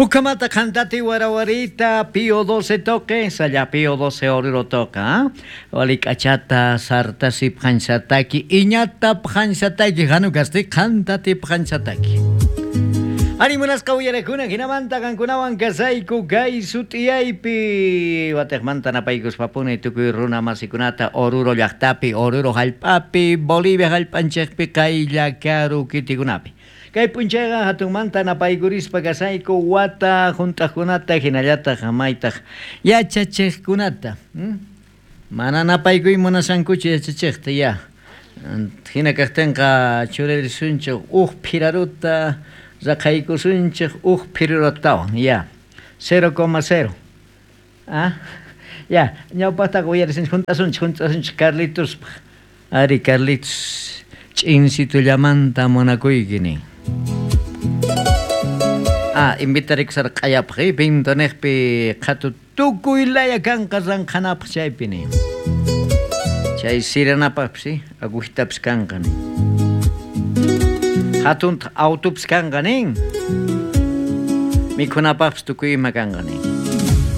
Ukamata qantati warawarita Pío 12 toque, salla Pío 12 Oruro toca, ¿ah? Walik'achata sartasi phansataki, iñata phansataki, hanukasti qantati phansataki. Ari munasqa uyarakuna hinamanta qankunawan kasayku kay sut'iyaypi watejmanta napaykuspapuni tukuy runa masikunata Oruro llaqtapi, Oruro hallp'api, Bolivia hallp'anchikpi qaylla karu kitikunapi. Kay p'unchayqa hatunmanta napaykurispa kasayku wata hunt'aqkunata hinallataq maytaq yachachiqkunata. Mana napaykuy munashankuchu yachachiqta ya. Hina kaqtinqa churarisunchik uj phiraruta raqaykusunchik uj phirarutawan ya. 0,0. Ah, ya, ñawpaqtaqa uyarisunchik hunt'asunchik hunt'asunchik Carlitospaq. Ari Carlitos ch'insitullamanta munakuyki nin. Ah, invitarikusarqa q'ayapaq, eh, Pintoniqpi qhatu tukuy laya kanqa ranqhanapaq chaypi nin. Chay siranapaqpis, eh, agujitapis kanqa nin. Hatuntaq autopis kanqa nin. Mikhunapaqpis tukuy ima kanqa nin.